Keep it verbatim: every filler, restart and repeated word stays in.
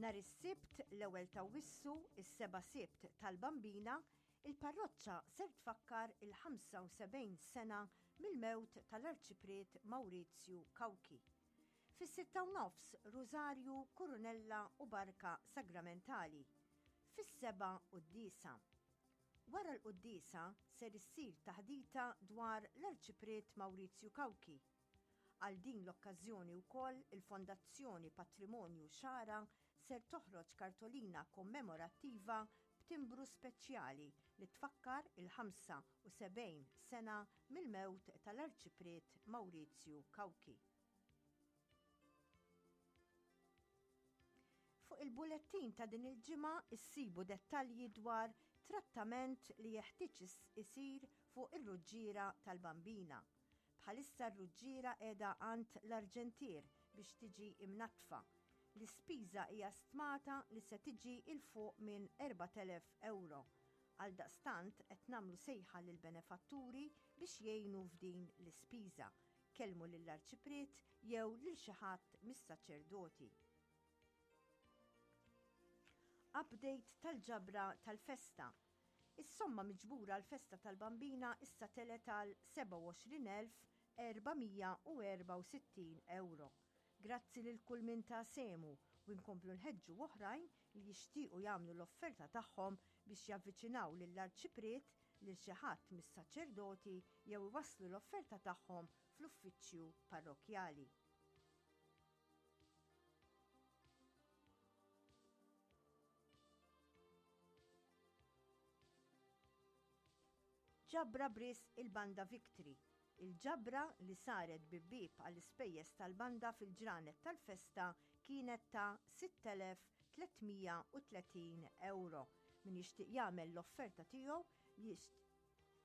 Nhar is-Sibt, l-ewwel t'Awwissu, is-seba' Sibt tal-Bambina, il-parroċċa ser tfakkar il-ħamsa u sebgħin sena mill-mewt tal-Arċipriet Maurizio Cauchi. Fis-sitta u nofs Rużarju, Kurunella u Barka Sagramentali. Fis-sebgħa quddiesa. Wara l-quddiesa ser issir taħdita dwar l-Arċipriet Maurizio Cauchi. Għal din l-okkażjoni wkoll il-Fondazzjoni Patrimonju Xagħra ser toħroġ kartolina kommemorattiva b'timbru speċjali li tfakkar il-ħamsa u sebgħin sena mill-mewt tal-Arċipriet Maurizio Cauchi. Fuq il-bulettin ta' din il-ġimgħa issibu dettalji dwar trattament li jeħtieġ isir fuq ir-ruġġiera tal-Bambina. Bħalissa r-ruġġiera qiegħda għand l-arġentier biex tiġi imnatfa. L-ispiża hija stmata li se tiġi 'l fuq minn erbat elef euro. Għal daqstant qed nagħmlu sejħa lil benefatturi biex jgħinu f'din l-ispiża. Kellmu lill-arċipriet jew lil xi ħadd mis-saċerdoti. Update tal-ġabra tal-festa. Is-somma miġbura l-festa tal-Bambina issa telgħet għal sebgħa u għoxrin elf erba' mija u erbgħa u sittin euro. Grazzi lil kull min ta sehmu u nkomplu nħeġġu oħrajn li jixtiequ jagħmlu l-offerta tagħhom biex javviċinaw lill-arċipriet, lil xi ħadd mis-saċerdoti jew iwasslu l-offerta tagħhom fl-uffiċċju parrokjali. Ġabra b'risq il-Banda Victory. Il-ġabra li saret bi bieb għall-ispejjeż tal-banda fil-ġranet tal-festa kienet ta' sitt elef tliet mija u tletin euro. Min jixtieq jagħmel l-offerta tiegħu